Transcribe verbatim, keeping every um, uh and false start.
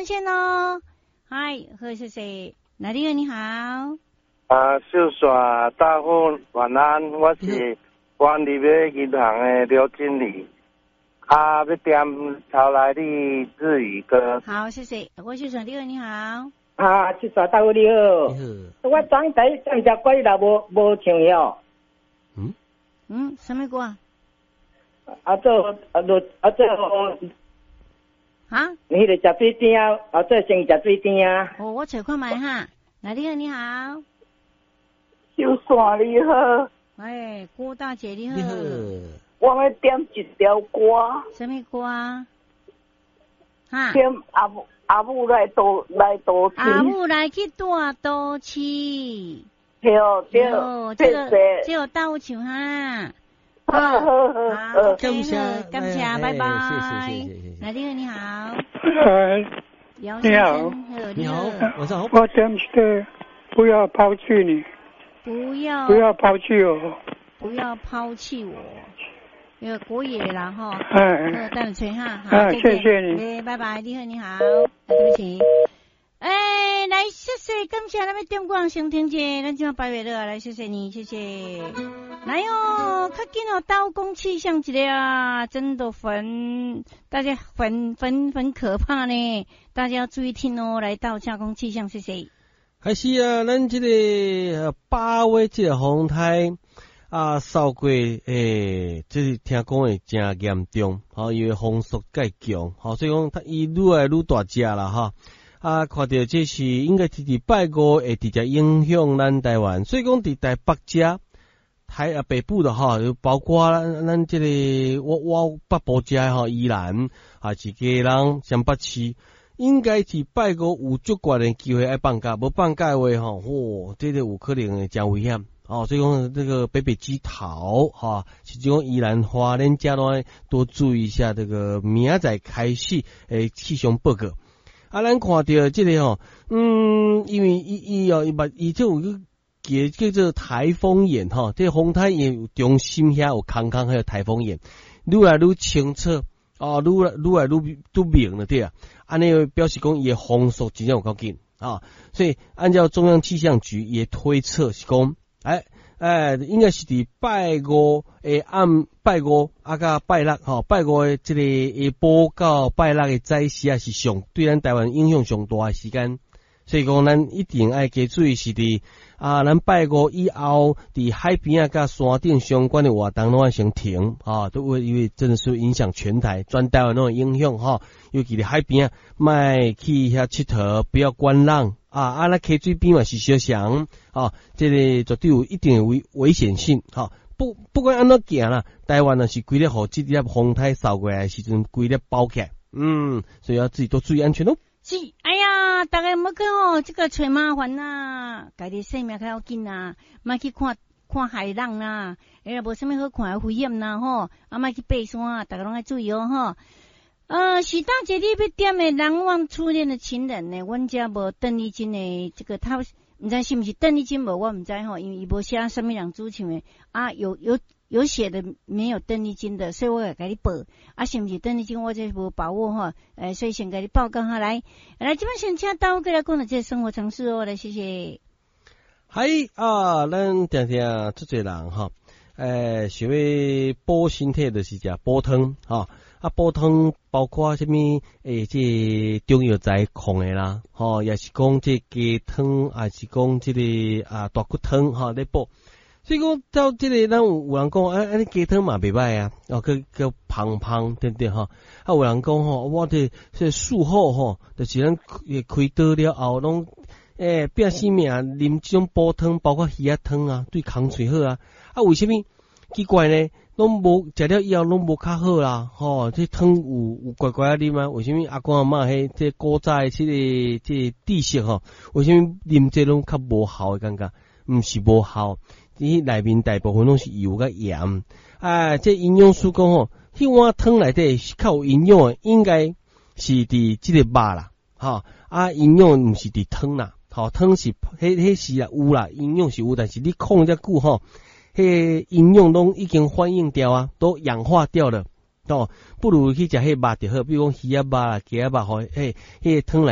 線哦。嗨，好，謝謝。來，你好，你好。啊，秀雪大富晚安，我是關立的銀行的劉經理。啊，欲點曹萊麗日語歌。好，謝謝。郭秀雪，你好，你好。啊，秀雪大富你好。我昨昏第一點隻歌你若無無唱哦。嗯？嗯，啥物歌？啊做啊做啊做。啊？你彼个食水甜啊，啊做生意食水甜啊。哦，我揣看覓哈。來，你好，你好。秀雪你好。哎，郭大姐你好。你好。我欲點一條歌。啥物歌？哈？點阿母阿母來都來都市。阿母來去大都市。對對。這個這個大有唱哈。好好好，感謝感謝，拜拜。謝謝謝謝謝。來，你好，你好。呃，你好，你好，晚上好。我點是不要拋棄你，不要不要拋棄我，不要拋棄我。那個國語啦吼，哎，等下吹哈，好，謝謝你，拜拜，你好，你好，對不起。哎，來，謝謝，感謝咱欲點歌先聽者，咱這馬拜拜了，來，謝謝你，謝謝。來哦，較緊哦，刀工氣象一個啊，真的很，大家很很很可怕呢，大家要注意聽哦。來到加工氣象，謝謝。還是啊，咱這個八月這個風颱啊，掃過欸，這是聽講會誠嚴重，吼，因為風速較強，吼，所以講它伊愈來愈大隻啦，哈。啊，看著這是應該是佇拜五會直接影響咱台灣，所以講佇台北遮台啊北部的哈，包括咱咱這個我我北部遮吼，宜蘭啊是基隆、雙北市，應該是拜五有足懸的機會愛放假，無放假的話吼，嚯，這個有可能會誠危險。哦，所以講這個北北基桃哈，是講宜蘭花蓮遮攏多注意一下這個明仔載開始的氣象報告。啊，咱看著這個吼，嗯，因為伊伊哦，伊嘛伊這有個叫叫做颱風眼吼，這個風颱眼中心遐有空空，彼個颱風眼，愈來愈清楚，哦，愈來愈來愈愈明了對啊，按呢表示講伊的風速真正有夠緊啊，所以按照中央氣象局也推測是講，哎哎，應該是佇拜五的暗拜五啊，佮拜六吼，拜五的這個下晡到拜六的早時啊，是上對咱台灣影響上大的時間，所以講咱一定愛加注意是佇啊，咱拜五以後佇海邊啊，佮山頂相關的活動攏愛先停啊，都會因為真的是影響全台，全台灣攏會影響吼，尤其佇海邊啊，莫去遐𨑨迌，不要觀浪。啊啊！咱溪水邊嘛是相像，啊，這個絕對有一定的危危險性，哈。不不管按怎行啦，台灣若是規咧予這粒風颱掃過來的時陣，規咧包起來，嗯，所以要自己多注意安全咯。是，哎呀，逐家莫去哦，這個揣麻煩啦，家己性命較要緊啦，莫去看看海浪啦，哎呀，無啥物好看的危險啦，吼，啊，莫去爬山，逐家攏愛注意哦，吼。呃，許大姐，你欲點的難忘初戀的情人呢？阮遮無鄧麗君的這個，他毋知是毋是鄧麗君無，我毋知吼，因為伊無寫啥物人主唱的啊，有有有寫的沒有鄧麗君的，所以我會共你報啊，是毋是鄧麗君，我這無把握吼，呃，所以先共你報告下來。來，這擺先請大家過來講的這個生活常識哦，來謝謝。嗨啊，咱定定足濟人吼，欸，想欲補身體就是食補湯吼。啊，補湯包括啥物？欸，這個中藥材控的啦，吼，也是講這雞湯，還是講這個啊大骨湯，吼，咧補。所以講到這個，咱有有人講，啊，按呢雞湯嘛袂䆀啊，哦，閣閣芳芳對不對吼？啊，有人講吼，我這這術後吼，就是咱開刀了後，攏欸拼性命啉這種補湯，包括魚仔湯啊，對空喙好啊。啊，為啥物奇怪呢？攏無食了以後攏無較好啦，吼！這湯有有乖乖仔啉啊？為啥物阿公阿嬤彼這古早的這個這個知識吼？為啥物啉這攏較無效的感覺？毋是無效，伊內面大部分攏是油佮鹽。啊，這營養師講吼，彼碗湯內底是較有營養的，應該是佇這個肉啦，吼啊，營養毋是佇湯啦，吼湯是彼彼是啦有啦，營養是有，但是你控遮久吼。彼營養攏已經反應掉啊，都氧化掉了，哦，不如去食彼肉就好，比如講魚仔肉啦、雞仔肉吼，彼彼个湯內。